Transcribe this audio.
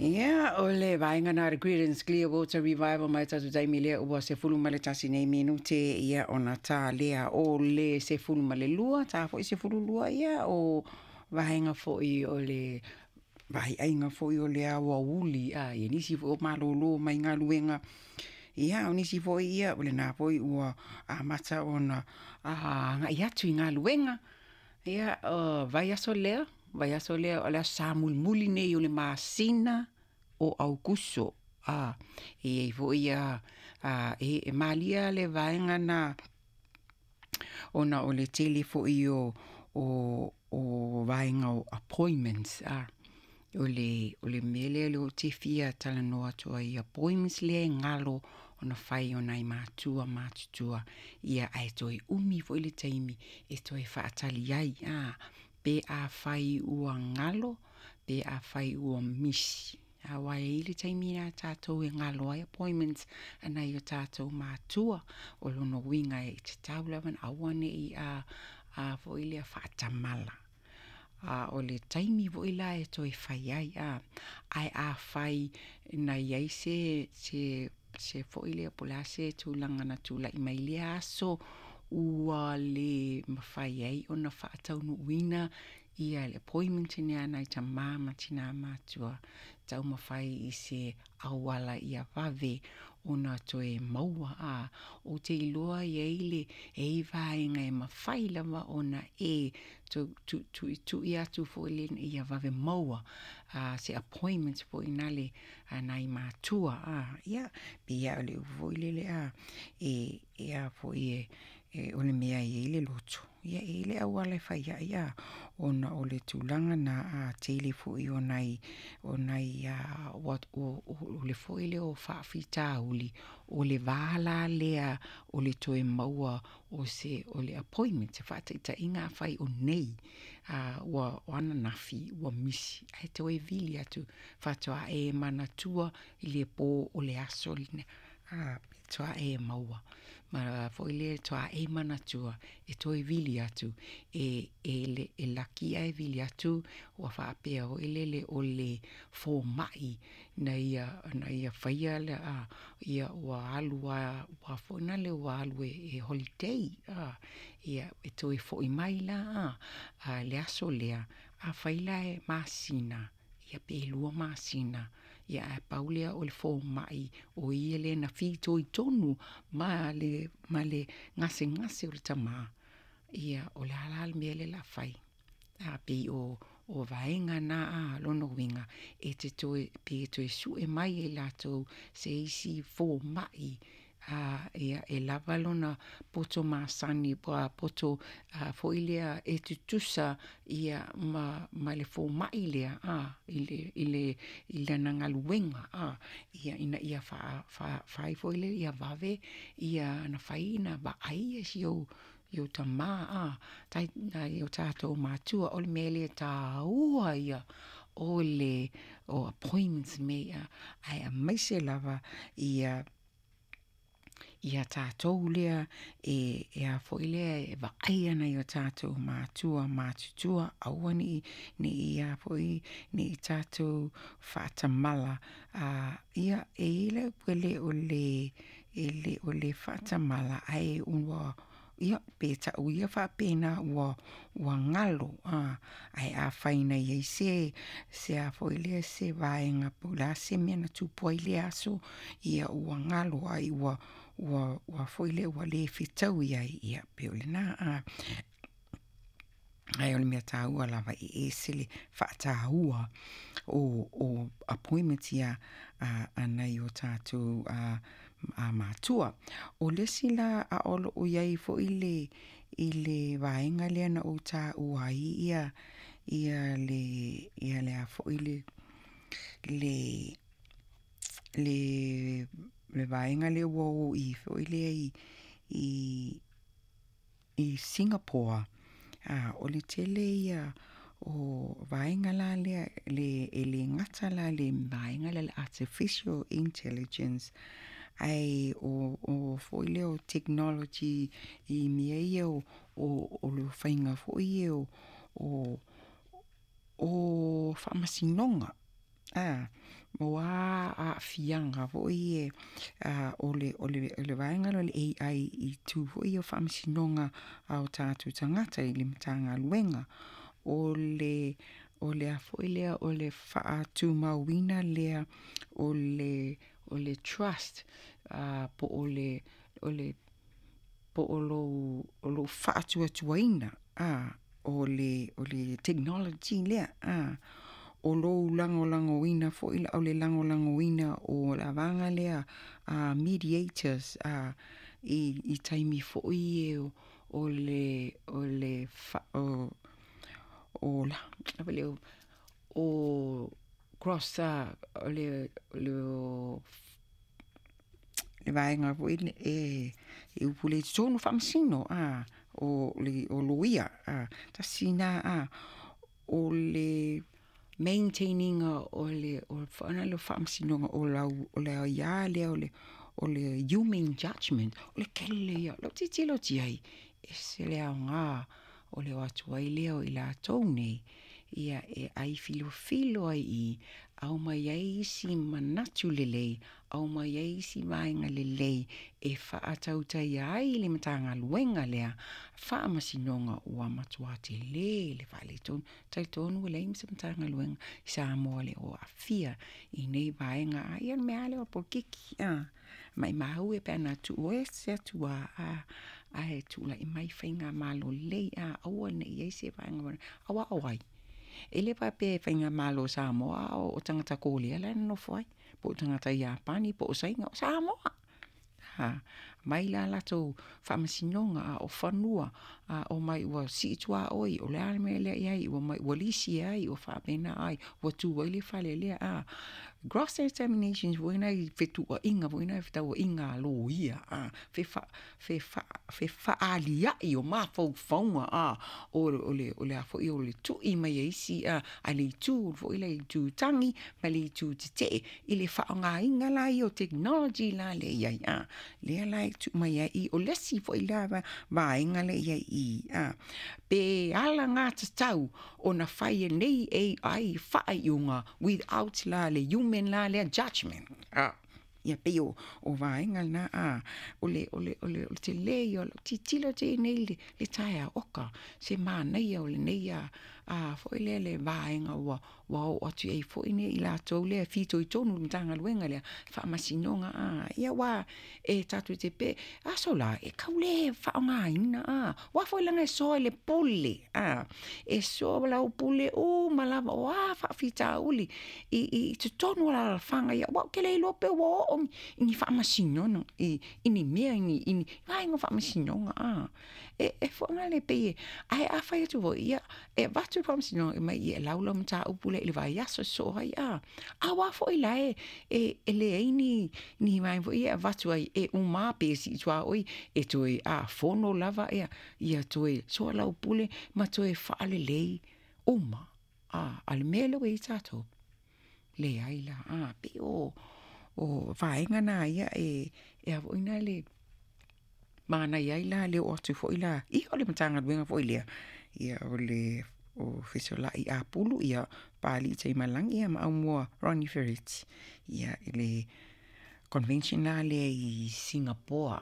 Ia, o le vaega na le Creedence Clearwater Revival mai tatou taimi lea ua 11 nei minute ia ona ta lea o le 12, ta foi 12 ia o vaega foi o le vaaiaiga foi o le aoauli a ia nisi foi o malōlō mai galuega ia o nisi foi ia o lena foi ua amata ona agai atu i galuega ia o vaiaso lea vaiaso lea o le Aso Sa mulimuli nei o le masina o Aukuso a e i ai foi ia e malia le vaega na ona o le tele foi o vaega o appointments a o le mea lea lea ou te fia talanoa atu ai appointments lea e galo ona fai o nai matua matutua ia ae toe umi foi le taimi e toe faatali ai a pe afai ua galo pe afai ua misi. Aua e i ai le taimi a tatou e galo ai appointments a nai o tatou matua. O lona uiga e tatau lava ona aua ne i a foi lea faatamala. A o le taimi foi la e toe fai ai a ae afai na i ai se foi lea po o le a se tulaga na tulai mai i lea aso ua le mafai ai ona faataunuuina ia le appointment lea a nai tamā ma tinā matua taumafai i se auala ia vave ona toe maua a ou te iloa e i ai le e i ai vaega e mafai lava ona e tuitui atu foi le ia vave maua se appointment foi nale a nai matua a ia pei lava o le upu foi lele a e a foi e o le mea e i ai le loto ia e i ai le auala e fai ai a ona o le tulaga na a tele foi o nai o nai o le foi lea o faafitauli o le va la lea o le toe maua o se o le appointment se faataitaiga afai o nei a ua o ananafi ua misi ae toe vili atu faatoa e manatua i le pō o le aso lena a faatoa e maua ma foi lea faatoa e manatua e toe vili atu e e laki ae vili atu ua faapea foi lele o le fomai na ia faia le a ia ua alu a ua foi nale ua alu e holiday a ia e toe foi mai la a le aso lea afai la e masina ia pe 2 masina ia ae pau lea o le fomai o ia lea na fitoitonu ma le gasegase o le tamā ia o le a la le mea lea o le a fai a pei o vaega na a lona uiga e te toe pe toe sue mai e latou se isi fomai a ia e lava lona poto masani poto foi lea e tutusa ia ma le fomai lea a i lana galuega a ia ina ia fai foi lea ia vave ia ona fai ona vaai ia si ou tamā a nai o tatou matua o le mea lea e taua ia o le o appointments mea ia ae aemaise lava ia tatou lea e a foi lea e vaai ana i o tatou matua matutua aua ne i a foi ne i tatou faatamala a ia e i ai le upu e le o le faatamala ae ua ia pe tau ia faapena ua galo a ae afai na i ai se a foi lea se vaega po o le a se mea na tupu ai lea aso ia ua galo ai ua foi lea ua le fetaui ai ia pei o lena a ae o le mea taua lava e ese le faataua o appointments ia a nai o tatou matua. O le isi la a o loo i ai foi i le vaega lea na ou taua ai ia le a foi le vaega lea ua o i foi lea i Singapore a o le tele ia o vaega la lea e le gata la le vaega lea le artificial intelligence ae o foi lea o technology i mea ia o le faiga foi ia o faamasinoga. A o a aafiaga foi ie o le o le o le vaega lea o le AI i itu foi ia o faamasinoga a o tatou tagata i le Matagaluega. O le o le a foi lea o le faatumauina lea o le o le trust po o le o le po o lou o lou faatuatuaina o le o le technology lea o lou lagolagoina foi o le lagolagoina o le vaega lea mediators i taimi foi ia o le o le o o la o cross o le o le le vaega foi e e upu lea i totonu o faamasino o le o loia tasi lena o le maintain ina o le o le faamasinoga o lau o le aia lea o le o le human judgement o le tele ia. O lau tilotilo atu i ai, e ese le aoga o le o atu ai lea o i latou nei ia e ai filofilo ai i i, aumai ai isi manatu lelei, aumai ai isi vaega lelei e faatautaia ai le Matagaluega lea Faamasinoga ua matua tele le faaletonu. Talitonu ua leai ma se Matagaluega i Samoa le o aafia i nei vaega. A ia o le mea lava lea o le polokiki, a, maimau e pe ana tuu ese atu lava, a, ae tulai mai faigamalo lelei, a, aua ne i i ai se vaega, aua o ai? E le faapea e faigamalo a Samoa a o tagata Korea la e nonofo ai, po o tagata Iapani po o Saina, o Samoa. A, aumai la latou faamasinoga, a o fanua, a omai ua sii tuaoi, o le a le mea lea e i ai, ua omai ua lisi e ai, ua faapena ai, ua tu ai le fale lea, a. Cross examinations foi na i fetuuaiga foi na fetauaiga a loia, a, fefaaliai o mafaufauga, a, o le o le a foi o le tui mai e isi, a, a le itu foi le itu tagi ma le itu tetee i le faaaogaina la ia o technology la lea e i ai, a, lea la e tuu mai ai i i. O le isi foi la vaega lea e i ai i i, a, pe alagatatau ona fai e nei AI faaiuga without la le human la lea judgement, a. Ia pei o vaega na, a, o le o le o le tele ia o lau tilotilo atu i ai nei i le taeao, oka, se manaia o lenei a foi lea le vaega ua ua oo atu i ai foi i latou lea e fitoitonu i le Matagaluega lea, Faamasinoga, a, ia aua e tatou te pe, aso la, e tau le faaaogaina, a, aua foi leaga e soa i le pule, a, e soa lau pule uma lava, o a faafitauli i totonu o alaalafaga ia, aua ou te le iloa pe ua oo i ni faamasinoga, i ni mea, i ni vaega o faamasinoga, a. E foi la le pei e, ae a fai atu foi, ia, e avatu le faamasinoga e aumai e lau lau mataupu lea i le vaiaso e sosoo ai, a. Aua foi la e leai ni vaega foi ia e avatu ai e uma lava pe sii tuaoi e toe fono lava ia toe soalaupule ma toe faalelei uma. A o le mea lea ua i ai tatou, leai la, a, pei o vaega na ia e a foi la le manaia ai la le oo atu foi la, ia o le Matagaluega foi lea, ia o le o Fesolai Apulu, ia Papalii Taimalagi ia ma Aumua Ronnie Ferretti, ia i le convention la lea i Singapore.